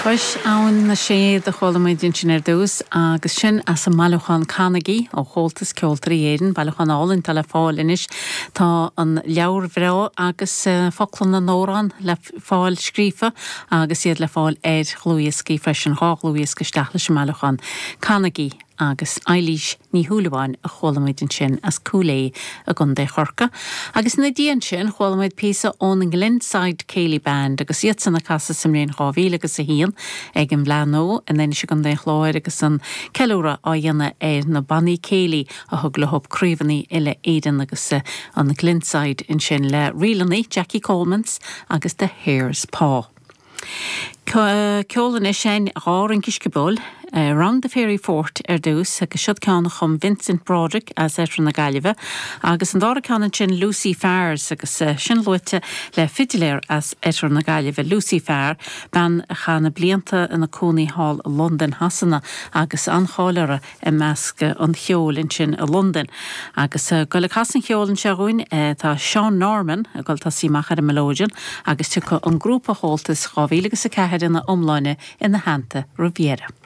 Cois Abhainn na Séad a chuala muid ansin ar dtús agus sin as an mbailiúchán Canaigí ó Chomhaltas Ceoltóirí Éireann, bailiúchán álainn atá le fáil anois. Tá an leabhar bhreá agus focla na n-amhrán le fáil scríofa agus iad le fáil ar dhlúthdhioscaí freisin, 2 dhlúthdhiosca isteach leis an mbailiúchán Canaigí. Agus Eilís Ní Shúilleabháin a chuala muid ansin as Cúil Aodha i gContae Chorcaí. Agus ina diaidh ansin chuala muid píosa ón nGlenside Céilí Band agus iadsan ag casadh sa mbliain 2000 agus 1 ag an bhFleadh Nua in Inis i gContae an Chláir agus an ceiliúradh á dhéanamh ar na bannaí céilí a thug leo craobhanna uile Éireann agus an Glenside ansin le ríleanna Jackie Coleman's agus The Hare's Paw. Ceol anois againn, 2 rince sciobóil, Round the Fairy Fort ar dtús agus siod ceann a chum Vincent Broderick as Oirthear na Gaillimhe agus an dara ceann ansin Lucy Farr's agus sin luaite le fidiléir as Oirthear na Gaillimhe, Lucy Farr, bean a chaith na blianta ina cónaí thall i Londain Shasana agus an-cháil uirthi i measc an cheoil ansin i Londain. Agus ag goil ag casadh an cheoil anseo dhúinn tá Seán Norman ag goil tosaí amach ar an mileoidean agus tiocfaidh an grúpa Chomhaltas 2004 ina iomláine ina theannta roimh dheireadh.